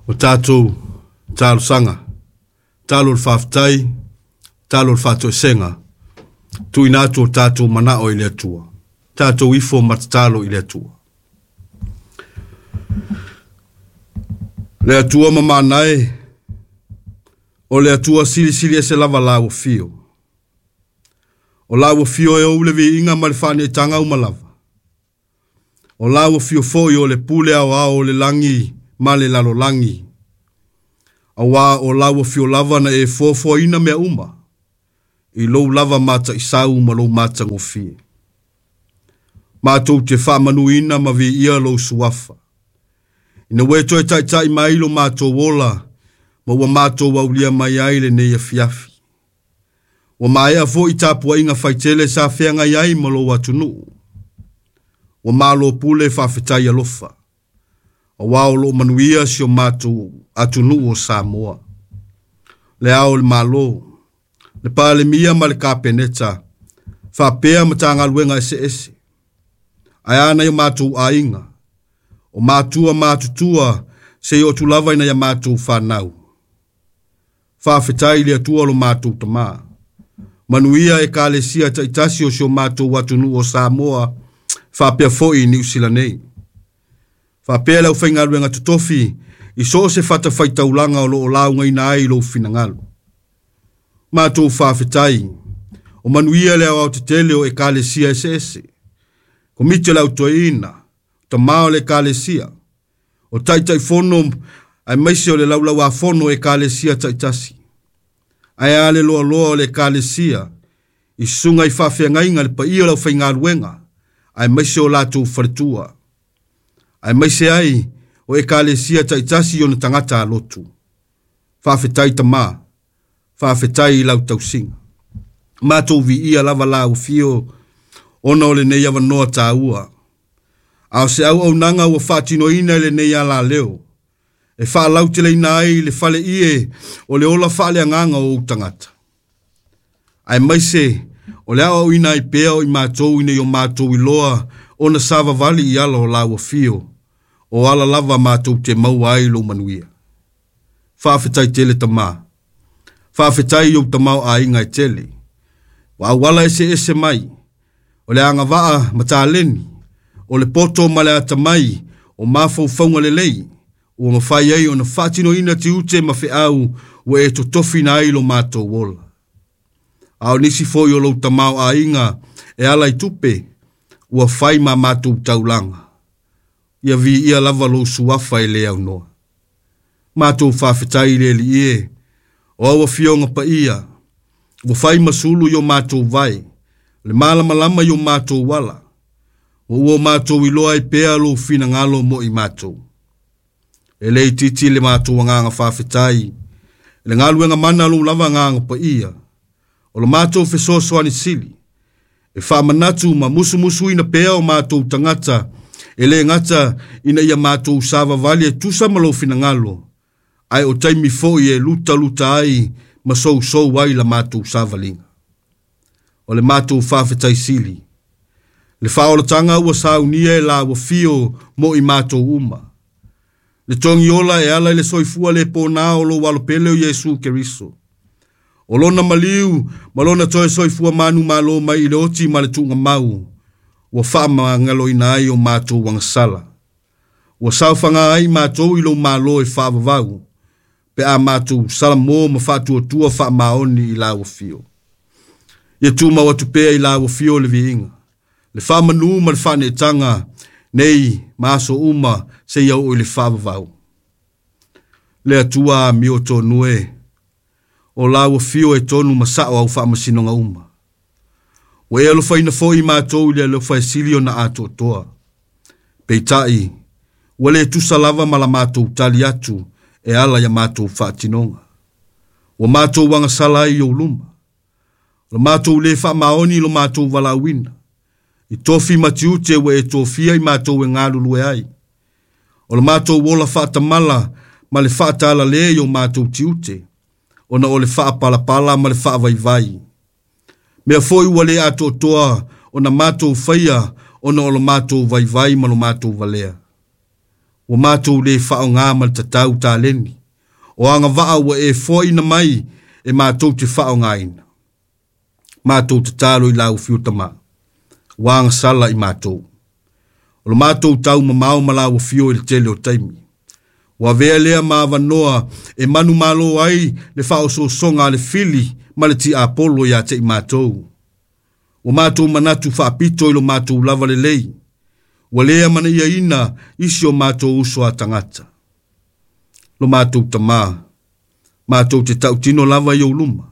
O tatou talosaga, talo o le faafetai, talo o le faatoesega, tuuina atu o tatou manao i le Atua. Tatou ifo ma tatalo i le Atua. Le Atua mamana e, o le Atua silisili ese lava lau afio. O lau afio e ou le viiga ma le faaneetaga uma lava. O lau afio foi o le pule aoao o le lagi ma le lalolagi. Auā o lau afio lava na e foafoaina mea uma, i lou lava mataisau ma lou matagofie. Matou te faamanuina ma viia lou suafa. Ina ua e toe taitai mai lo matou ola, ma ua matou aulia mai ai lenei afiafi. Ua maea foi tapuaiga faitele sa feagai ai ma lou atunuu. Ua malo pule faafetai alofa. Auā o loo manuia si o matou atunuu o Samoa. Le ao o le Malo, le Palemia ma le Kapeneta, faapea Matagaluega eseese. Ae a nai o matou aiga, o matua matutua seia oo atu lava ina ia matou fanau. Faafetai i le Atua lo matou Tamā. Manuia Ekalesia taitasi o si o matou atunuu o Samoa, faapea foi i Niu Sila nei. Faapea le aufaigaluega totofi i so o se fatafaitaulaga o lo o laugaina ai lou finagalo. Matou faafetai, o manuia le aoaotetele o Ekalesia eseese, Komiti o le Au Toeaina, Tamā o le Ekalesia, o Taitaifono aemaise o le Laulauafono o Ekalesia taitasi. Ae a le loaloa o le Ekalesia, i susuga i faafeagaiga le paia o le aufaigaluega, aemaise o latou faletua, aemaise ai o Ekalesia taitasi i ona tagata alotu. Faafetai Tamā, faafetai i lau tausiga. Matou viia lava lau afio ona o lenei avanoa taua. A o se auaunaga ua faatinoina i lenei alaleo, e faalauteleina ai le faleie o le ola faaleagaga o ou tagata. Aemaise o le aoaoina ai pea o i matou ina ia o matou iloa ona savavali i ala o lau afio, o ala lava matou te maua ai lou manuia. Faafetai tele Tamā. Faafetai i ou tamaoaiga e tele. Ua auala eseese mai, o le agavaa ma taleni, o le poto ma le atamai, o mafaufauga lelei, ua mafai ai ona faatinoina tiute ma feau ua e totofina ai lo matou ola. A o nisi foi o lou tamaoaiga e ala i tupe, ua fai ma matou taulaga. Ia viia lava lou suafa e le aunoa. Matou faafetai i le Alii e, o au afioga paia, ua fai ma sulu i o matou vae, le malamalama i o matou ala, ma ua o matou iloa ai pea lou finagalo mo i matou. E le itiiti le matou agaga faafetai i le galuega mana a lou lava agaga paia, o le matou fesoasoani sili, e faamanatu ma musumusuina pea o matou tagata, e le gata ina ia matou savavali e tusa ma lou finagalo, ae o taimi foi e lutaluta ai ma sousou ai la matou savaliga. O le matou faafetai sili, le faaolataga ua saunia e lau afio mo i matou uma. Le togiola e ala i le soifua le pona o lou alopele o Iesu Keriso. O lona maliu ma lona toe soifua manumalo mai i le oti ma le tuugamau, ua faamagaloina ai o matou agasala. Ua saofaga ai matou i lou malo e faavavau, pe a matou salamo ma faatuatua faamaoni i lau afio. Ia tumau atu pea i lau afio le viiga, le faamanu ma le faaneetaga, nei ma aso uma seia oo i le faavavau. Le Atua amio tonu e, o lau afio e tonu ma sao au faamasinoga uma. Ua e alofaina foi matou i le alofa e sili ona atoatoa. Peitai, ua le tusa lava ma la matou tali atu e ala ia matou faatinoga. Ua matou agasala ai i ou luma. O le matou le faamaoni i lo matou valaauina. I tofi ma tiute ua e tofia i matou e galulue ai. O le matou ola faatamala ma le faatalale i o matou tiute, ona o le faapalapala ma le faavaivai. Mea foi ua le atoatoa ona matou faia ona o lo matou vaivai ma lo matou valea. Ua matou lē faaaogā ma le tatau taleni, o agavaa ua e foaina mai e matou te faaaogāina. Matou tatalo i lau afio Tamā, ua agasala i matou. O lo matou tau mamao ma lau afio i le tele o taimi. Ua avea lea ma avanoa e manumalo ai le faaosoosoga a le fili ma le tiapolo iā te i matou. Ua matou manatu faapito i lo matou lava lelei, ua lē amanaiaina isi o matou uso a tagata. Lo matou Tamā, matou te tautino lava i ou luma,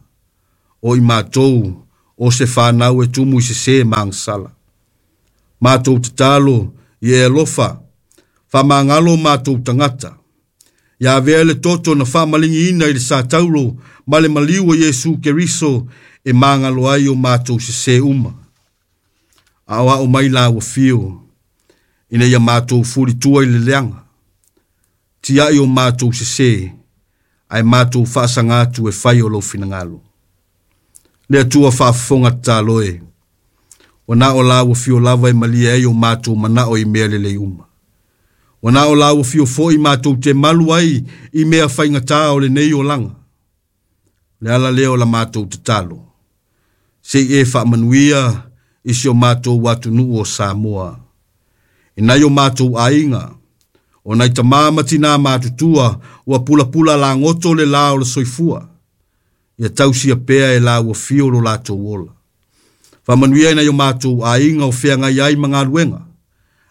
o i matou o se fanau e tumu i sesē ma agasala. Matou tatalo i e alofa, faamagalo matou tagata. Ia avea le toto na faamaligiina i le satauro ma le maliu o Iesu Keriso e magalo ai o matou sesē uma. Aoao mai lau afio, ina ia matou fulitua i le leaga. Tiai o matou sesē, ae matou faasaga atu e fai o lou finagalo. Le Atua faafofoga tatalo e, ua na o lau afio lava e malie ai o matou manao i mea lelei uma. Ua na o lau afio foi matou te malu ai i mea faigata o lenei olaga. Le ala lea o la matou tatalo, se i e faamanuia i si o matou atunuu o Samoa. I nai o matou aiga, o nai tamā ma tinā matutua ua pulapula lagoto le lā o le soifua, ia tausia pea e lau afio lo latou ola. Faamanuia i nai o matou aiga o feagai ai ma galuega,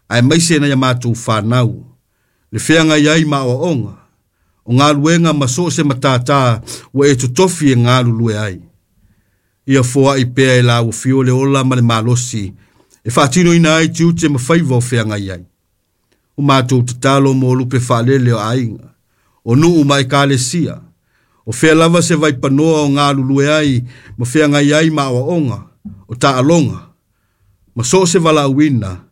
aemaise nai a matou fanau, le feagai ai ma aoaoga, o galuega ma so o se matātā ua e totofi e galulue ai. Ia foai pea e lau afio le ola ma le malosi, e faatinoina ai tiute ma faiva o feagai ai. O matou tatalo mo lupe faalele o aiga, o nuu ma ekalesia, o fea lava se vaipanoa o galulue ai ma feagai ai ma aoaoga, o taaloga, ma so o se valaauina,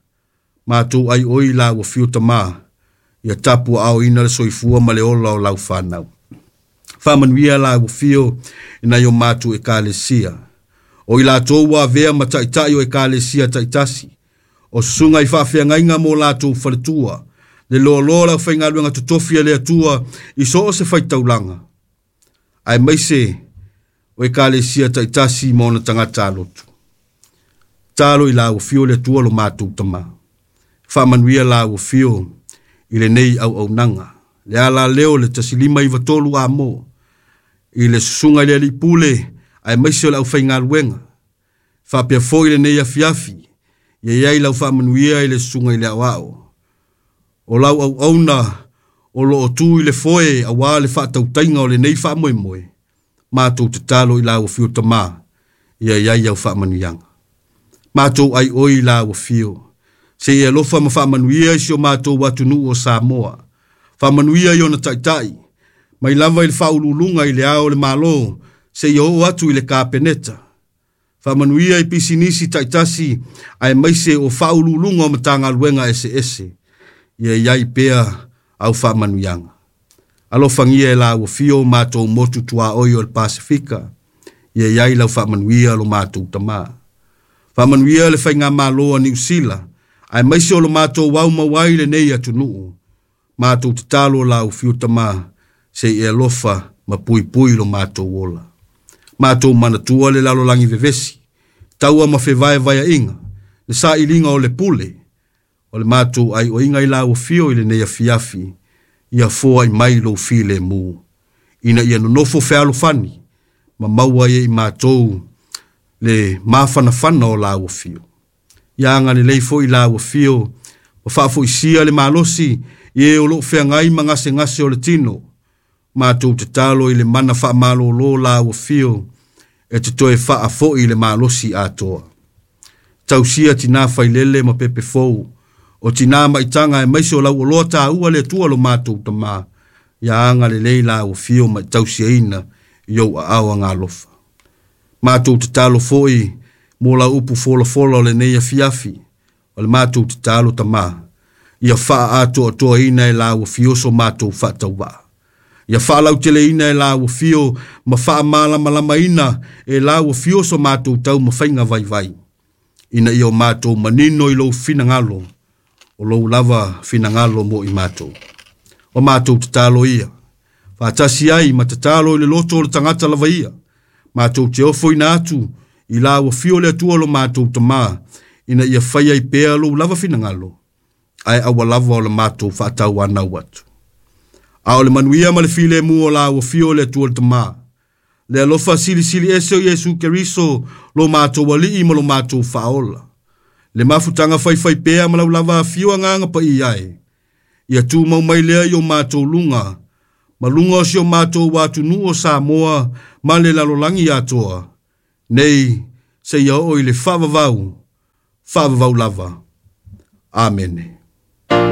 matou aioi lau afio Tamā, ia tapuaaoina le soifua ma le ola o lau fanau. Faamanuia lau afio i nai o matou ekalesia, o i latou ua avea ma taitai o ekalesia taitasi, o susuga i faafeagaiga mo latou faletua, le loaloa o le aufaigaluega totofi a le Atua i so o se faitaulaga, aemaise o ekalesia taitasi ma ona tagata alotu. Talo i lau afio le Atua lo matou Tamā. Faamanuia lau afio i lenei auaunaga. Le ala lea o le 1593 amo, i le susuga i le alii pule, aemaise o le aufaigaluega. Faapea foi lenei afiafi, ia iai lau faamanuia i le susuga i le aoao. O lau auauna o loo tu i le foe auā le faatautaiga o lenei faamoemoe, matou tatalo i lau afio Tamā, ia iai au faamanuiaga. Matou aioi i lau afio, se i alofa ma faamanuia i si o matou atunuu o Samoa. Faamanuia i ona taitai, mai lava i le faauluuluga i le ao o le Malo, seia oo atu i le Kapeneta. Faamanuia i pisinisi taitasi, aemaise o faauluuluga o Matagaluega eseese, ia iai pea au faamanuiaga. Alofagia e lau afio o matou motu tuaoi o le Pasefika, ia iai lau faamanuia lo matou Tamā. Faamanuia le faigamalo a Niu Sila, aemaise o lo matou au mau ai lenei atunuu. Matou tatalo lau afio Tamā, se i e alofa ma puipui lo matou ola. Matou manatua le lalolagi vevesi, taua ma fevaevaeaiga, le sailiga o le pule, o le matou aioiga i lau afio i lenei afiafi, ia foai mai lou filemu, ina ia nonofo fealofani, ma maua ai e i matou le mafanafana o lau afio. Ia agalelei foi lau afio, ma faafoisia le malosi i e o loo feagai ma gasegase o le tino. Matou tatalo i le mana faamalōlō lau afio, e te toe faafoi le malosi atoa. Tausia tinā failele ma pepe fou, o tinā maitaga aemaise o lau oloa taua le Atua lo matou Tamā, ia agalelei lau afio ma tausiaina i ou aao agalofa. Matou tatalo foi mo lau upu folafola o lenei afiafi, o le matou tatalo Tamā, ia faaatoatoaina e lau afio so matou faatauvaa. Ia faalauteleina e lau afio ma faamalamalamaina e lau afio so matou taumafaiga vaivai, ina ia o matou manino i lou finagalo O lou lava finagalo mo i matou. O matou tatalo ia. Faatasi ai ma tatalo i le loto o le tagata lava ia. Matou te ofoina atu i lau afio le Atua lo matou Tamā, ina ia faia ai pea lou lava finagalo, ae aua lava o le matou faatauanau atu. A o le manuia ma le filemu o lau afio le Atua le Tamā, le alofa silisili ese o Iesu Keriso lo matou Alii ma lo matou Faaola, le mafutaga faifaipea ma lau lava afio Agaga Paia e, ia tumau mai lea i o matou luga, ma luga o si o matou atunuu o Samoa ma le lalolagi atoa, nei seia oo i le faavavau, faavavau lava. Amene.